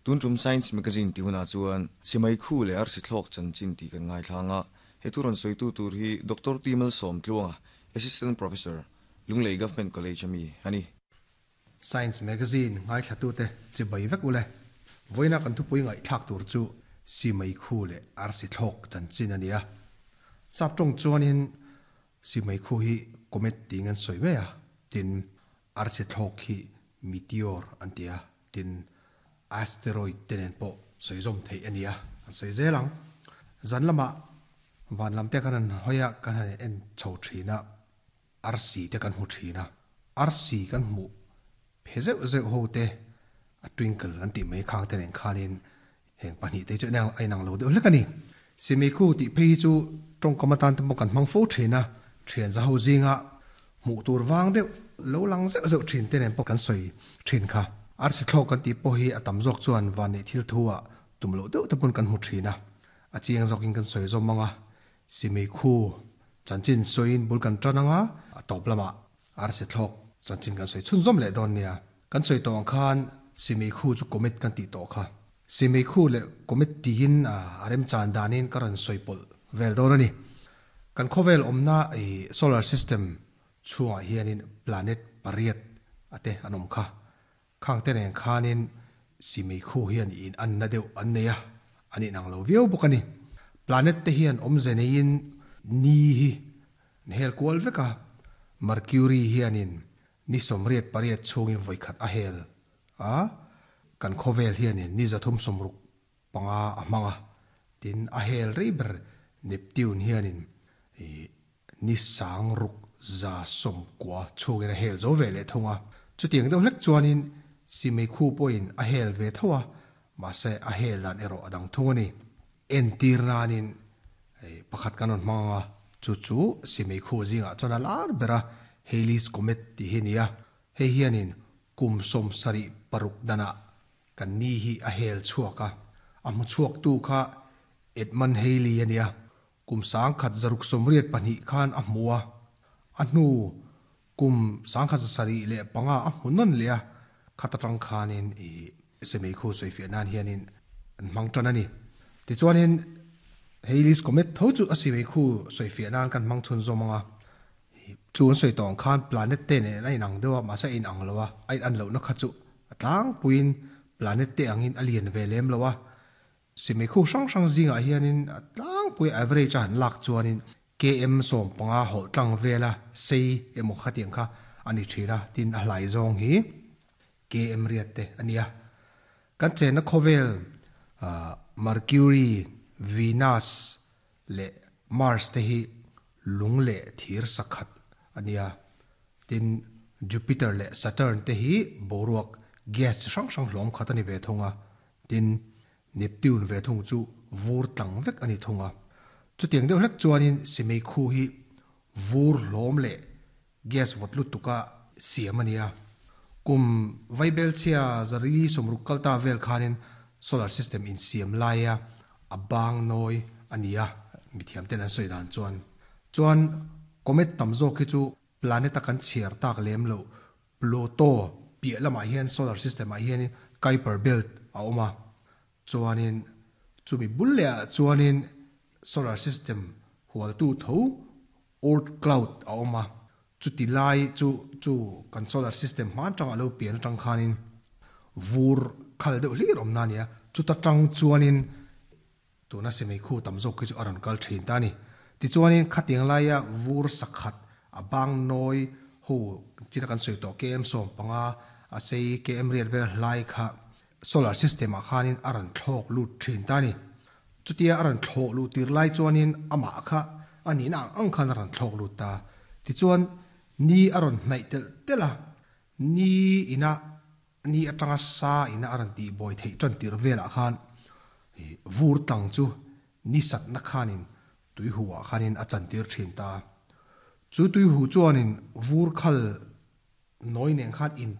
Tun tum Science Magazine tih hunah chuan Simai Khu leh Arsi Thlawk chanchin tih kan ngaithlang a, he thu rawn sawitu tur hi Doctor T Malsawmtluanga, Assistant Professor, Lunglei Government College ami a ni. Science Magazine ngaithlatute chibai vek ule. Vawiina kan thupui ngaihthlak tur chu Simai Khu leh Arsi Thlawk chanchin a ni a. Sap tawng chuanin Simai Khu hi Comet tiin an sawi mai a, tin Arsi Thlawk hi Meteor an ti a, tin Asteroid te nen pawh sawi zawm theih a ni a, an sawi zel ang. Zan lamah van lam te kan han hawi a, kan han en chho thin a, arsi te kan hmu thin a, arsi kan hmuh phe zeuh zeuh ho te a twinkle an tih mai khang te nen khanin heng pahnih te chu a inang lo deuh hlek a ni. Simikhu tih phei hi chu tawngkam atan te pawh kan hmang fo thin a, thian za ho zinga hmuh tur vang deuh lo lang zeuh zeuh thin te nen pawh kan sawi thin kha. Arsi thlawk kan tih pawh hi a tam zawk chuan vanneih thil thu ah tum loh deuh te pawn kan hmu thin a, a chiang zawkin kan sawi zawm ang a, Simikhu chanchin sawiin bul kan tan ang a, a tawp lamah Arsi thlawk chanchin kan sawi chhunzawm leh dawn nia. Kan sawi tawh ang khan Simikhu chu comet kan tih tawh kha. Simikhu leh comet tiin a remchan danin ka rawn sawi pawlh vel dawn a ni. Kan khawvel awmna i solar system chhungah hianin planet pariat a te an awm kha. Khang te nen khanin Simikhu hian in anna deuh an nei a, an inang lo viau bawk a ni. Planet te hian awmze neiin ni hi an hel kual vek a, Mercury hianin ni 88 chhungin vawikhat a hel a, kan khawvel hianin ni 365 a hmang a, tin a hel rei ber Neptune hianin ni 690 chhungin a hel zo ve leh thung a. Chutiang deuh hlek chuanin Simeikhu pawhin a hel ve tho a, mahse a hel dan erawh a dang thung a ni. Entir nanin pakhat kan rawn hmang ang a, chu chu Simeikhu zingah chuan a lar ber a, Halley's Comet tih hi a ni a. Hei hianin kum 76 danah kan ni hi a hel chhuak a, a hmu chhuaktu kha Edmund Halley a ni a. Kum 1682 khan a hmu a, a hnu kum 1705 a hmu nawn leh a, khat atang khanin i Semei khu sawifiah nan hianin an hmang tan a ni. Tichuanin Halley's Comet tho chu a Semei khu sawifiah nan kan hmang chhunzawm ang a, chu an sawi tawh ang khan planet te nen a inang deuh a, mahse a inang lo a, a inan lohna kha chu a tlangpuiin planet te angin a lian ve lem lo a, Simikhu hrang hrang zingah hianin a tlangpui average a han lak chuanin KM 15 hawlh tlang vela sei emaw khatiang kha a ni thin a, tin a hlai zawng hi KM riat te a nia. Kan chenna khawvel Mercury, Venus leh Mars te hi lung leh thir sakhat a nia. Tin Jupiter leh Saturn te hi boruak gas chi hrang hrang hlawm khat a ni ve thung a. Tin, Neptune ve thung chu vur tlang vek a ni thung a. Chutiang deuh hlek chuanin Simei khu hi vur hlawm leh gas vawt lutuka siam a ni a. Kum Vaibelchhia zarili 60 kal ta vel khanin solar system insiam laia a bang nawi a ni a, mithiam ten an sawi dan chuan. Chuan comet tam zawk hi chu planet a kan chhiar tak lem loh Pluto piah lamah hian solar system ah hianin Kuiper belt a awm a, chuanin chumi bul leh ah chuanin solar system hualtu tho Oort cloud a awm a, chuti lai chu chu kan solar system hma atanga a lo pian atang khanin vur khal deuh hlir awmna a ni a, chuta tang chuanin Tuna Semei khu tam zawk khi chu a rawn kal thin ta a ni. Tichuanin khatiang laia vur sakhat a bang nawi ho china kan sawi tawh KM 15 a sei KM riat vel hlai kha solar system ah khanin a rawn thlawk lut thin ta a ni. Chutia a rawn thlawh luh tir lai chuanin amah kha a nihna ang ang khan a rawn thlawk lut ta. Tichuan ni a rawn hnaih telh telh a, ni ina Ni atanga sa ina a rawn tih bawi theih tan tirh velah khan vur tlang chu ni satna khanin tuihu ah khanin a chantir thin ta. Chu tuihu chuanin vur khal nawi nen khan in.